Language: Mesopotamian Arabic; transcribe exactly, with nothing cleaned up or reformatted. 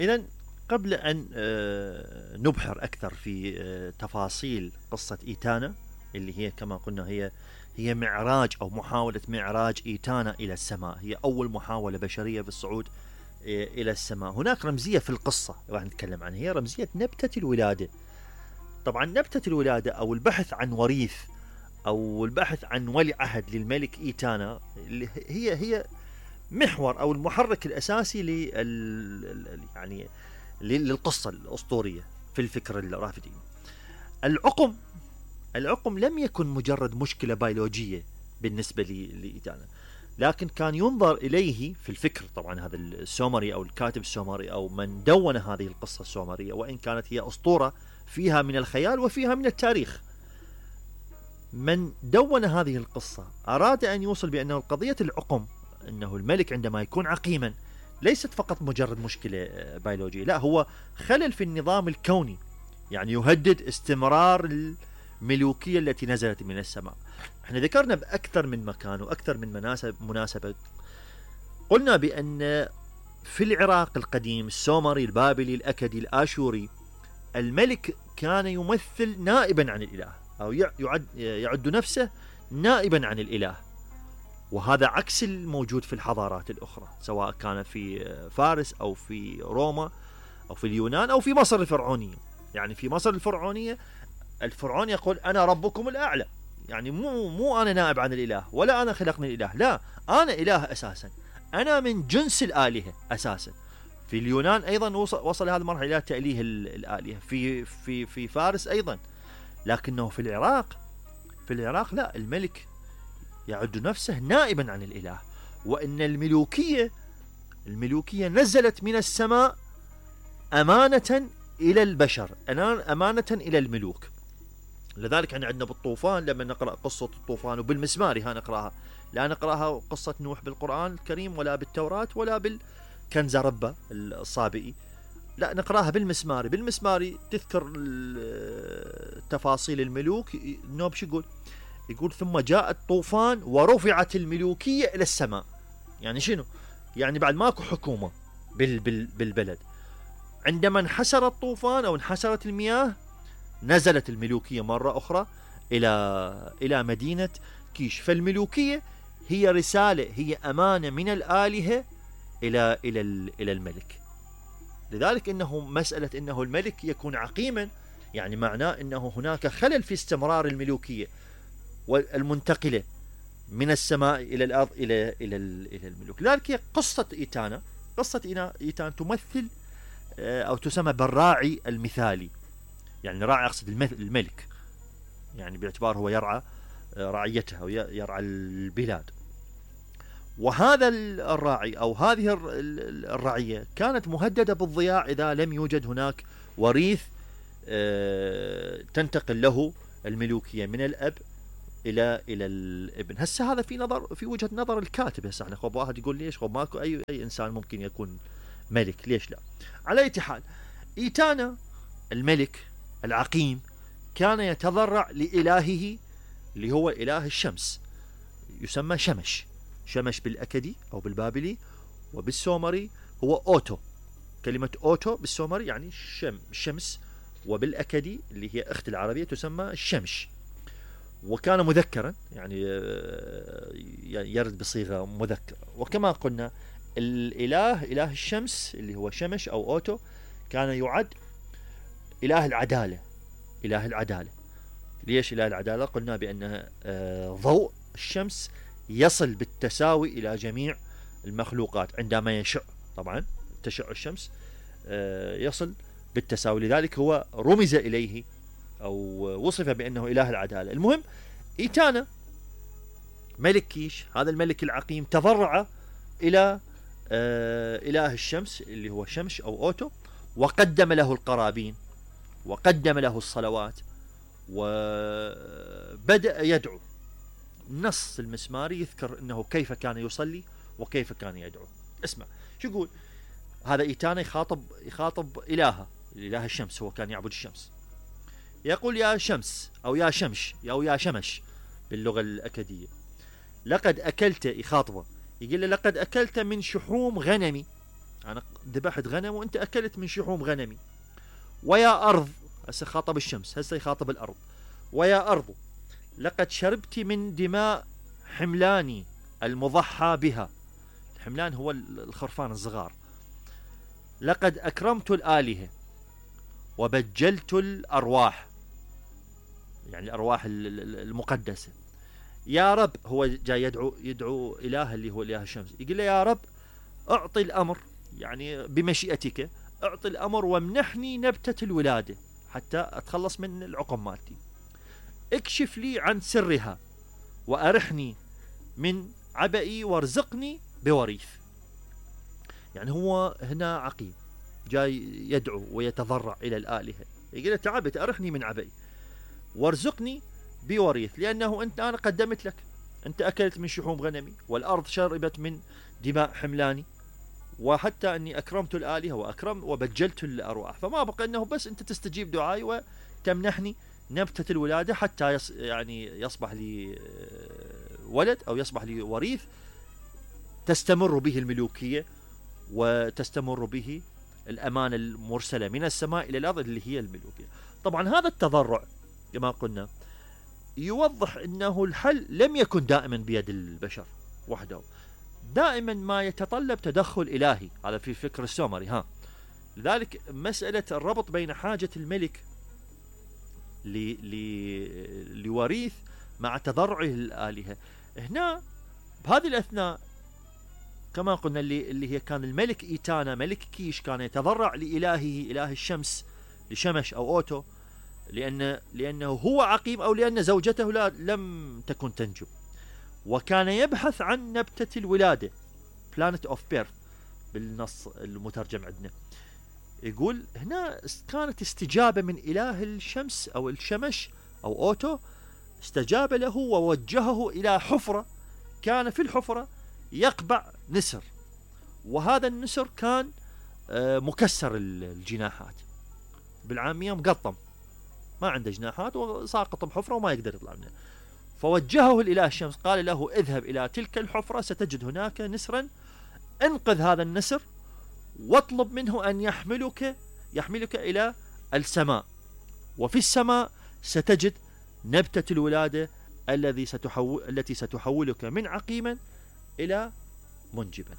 إذا قبل أن آه، نبحر أكثر في آه، تفاصيل قصة إيتانا، اللي هي كما قلنا هي هي معراج أو محاولة معراج إيتانا إلى السماء، هي أول محاولة بشرية بالصعود آه، إلى السماء. هناك رمزية في القصة راح نتكلم عنها، هي رمزية نبتة الولادة. طبعا نبتة الولادة أو البحث عن وريث أو البحث عن ولي عهد للملك إيتانا اللي هي هي محور أو المحرك الأساسي لل يعني للقصة الأسطورية في الفكر الرافدي. العقم العقم لم يكن مجرد مشكلة بيولوجية بالنسبة لإيتانا، لكن كان ينظر إليه في الفكر. طبعا هذا السومري أو الكاتب السومري أو من دون هذه القصة السومرية، وإن كانت هي أسطورة فيها من الخيال وفيها من التاريخ، من دون هذه القصة أراد أن يوصل بأنه قضية العقم، أنه الملك عندما يكون عقيما ليست فقط مجرد مشكلة بيولوجية، لا، هو خلل في النظام الكوني، يعني يهدد استمرار الملوكية التي نزلت من السماء. احنا ذكرنا بأكثر من مكان وأكثر من مناسب مناسبة، قلنا بأن في العراق القديم السومري البابلي الأكدي الآشوري، الملك كان يمثل نائبا عن الإله أو يعد, يعد نفسه نائبا عن الإله، وهذا عكس الموجود في الحضارات الأخرى، سواء كان في فارس أو في روما أو في اليونان أو في مصر الفرعونية. يعني في مصر الفرعونية الفرعون يقول أنا ربكم الأعلى، يعني مو مو أنا نائب عن الإله ولا أنا خلقني الإله، لا، أنا إله أساسا، أنا من جنس الآلهة أساسا. في اليونان أيضا وصل, وصل هذه المرحلة إلى تأليه الآلهة، في في في فارس أيضا. لكنه في العراق في العراق لا، الملك يعد نفسه نائبا عن الإله، وإن الملوكية الملوكية نزلت من السماء أمانة إلى البشر، أمانة إلى الملوك. لذلك احنا عندنا بالطوفان لما نقرأ قصة الطوفان، وبالمسماري ها نقرأها، لا نقرأها قصة نوح بالقرآن الكريم ولا بالتوراة ولا بالكنزربة الصابئي، لا نقرأها بالمسماري. بالمسماري تذكر تفاصيل الملوك. النوب شو يقول؟ يقول ثم جاء الطوفان ورفعت الملوكية إلى السماء. يعني شنو؟ يعني بعد ماكو حكومة بال بال بالبلد، عندما انحسر الطوفان أو انحسرت المياه نزلت الملوكية مرة أخرى إلى إلى مدينة كيش. فالملوكية هي رسالة، هي أمانة من الآلهة إلى إلى إلى الملك. لذلك إنه مسألة إنه الملك يكون عقيما، يعني معناه إنه هناك خلل في استمرار الملوكية والمنتقلة من السماء إلى الأرض إلى إلى إلى الملوك. لذلك هي قصة إيتانا قصة إيتانا تمثل أو تسمى بالراعي المثالي. يعني راعي أقصد الملك، يعني باعتبار هو يرعى رعيته أو يرعى البلاد. وهذا الراعي أو هذه الرعية كانت مهددة بالضياع إذا لم يوجد هناك وريث تنتقل له الملوكية من الأب إلى إلى الابن. هسه هذا في نظر في وجهة نظر الكاتب. هسه احنا خب واحد يقول ليش خب ماكو أي أي إنسان ممكن يكون ملك، ليش لا؟ على أي حال، إيتانا الملك العقيم كان يتضرع لإلهه اللي هو إله الشمس، يسمى شمش. شمش بالأكدي أو بالبابلي، وبالسومري هو أوتو. كلمة أوتو بالسومري يعني شم شمس، وبالأكدي اللي هي أخت العربية تسمى الشمش. وكان مذكرا، يعني يرد بصيغة مذكرة. وكما قلنا الإله إله الشمس اللي هو شمش أو أوتو كان يعد إله العدالة. إله العدالة ليش إله العدالة؟ قلنا بأن ضوء الشمس يصل بالتساوي إلى جميع المخلوقات عندما يشع. طبعا تشع الشمس يصل بالتساوي، لذلك هو رمز إليه أو وصف بأنه إله العدالة. المهم، إيتانا ملك كيش، هذا الملك العقيم، تضرع إلى إله الشمس اللي هو شمش أو أوتو، وقدم له القرابين وقدم له الصلوات وبدأ يدعو. النص المسماري يذكر أنه كيف كان يصلي وكيف كان يدعو. اسمع شو يقول. هذا إيتانا يخاطب يخاطب إلهه، إله الشمس، هو كان يعبد الشمس. يقول يا شمس أو يا شمش أو يا شمش باللغة الأكدية، لقد أكلت، يخاطبه، يقول له لقد أكلت من شحوم غنمي. أنا ذبحت غنم وانت اكلت من شحوم غنمي. ويا ارض، هسه خاطب الشمس، هسه يخاطب الارض. ويا ارض لقد شربت من دماء حملاني المضحى بها. الحملان هو الخرفان الصغار. لقد اكرمت الالهه وبجلت الارواح، يعني الارواح المقدسه. يا رب، هو جاي يدعو يدعو اله اللي هو اله الشمس، يقول له يا رب اعطي الامر، يعني بمشيئتك اعطي الامر وامنحني نبتة الولاده حتى اتخلص من العقم مالتي. اكشف لي عن سرها وارحني من عبئي وارزقني بوريث. يعني هو هنا عقيم جاي يدعو ويتضرع الى الالهه، يقول له تعبت ارحني من عبئي وارزقني بوريث، لانه انت انا قدمت لك، انت اكلت من شحوم غنمي والارض شربت من دماء حملاني، وحتى اني اكرمت الالهه واكرم وبجلت الارواح، فما بقى انه بس انت تستجيب دعائي وتمنحني نبتة الولاده حتى يص يعني يصبح لي ولد او يصبح لي وريث تستمر به الملوكيه وتستمر به الامانه المرسله من السماء الى الارض اللي هي الملوكيه. طبعا هذا التضرع كما قلنا يوضح انه الحل لم يكن دائما بيد البشر وحده، دائما ما يتطلب تدخل الهي، هذا في فكر السومري. ها لذلك مساله الربط بين حاجه الملك لوريث مع تضرعه للالهه، هنا بهذه الاثناء كما قلنا اللي اللي هي كان الملك ايتانا ملك كيش كان يتضرع لالهه اله الشمس لشمش او اوتو، لأن لأنه هو عقيم أو لأن زوجته لا لم تكن تنجب، وكان يبحث عن نبتة الولادة planet of birth بالنص المترجم عندنا. يقول هنا كانت استجابة من إله الشمس أو الشمش أو أوتو، استجاب له ووجهه إلى حفرة، كان في الحفرة يقبع نسر، وهذا النسر كان مكسر الجناحات، بالعامية مقطم، ما عنده جناحات وساقط بحفرة وما يقدر يطلع منها. فوجهه الإله الشمس، قال له اذهب إلى تلك الحفرة ستجد هناك نسرا، انقذ هذا النسر واطلب منه أن يحملك يحملك إلى السماء، وفي السماء ستجد نبتة الولادة الذي ستحول التي ستحولك من عقيما إلى منجبا.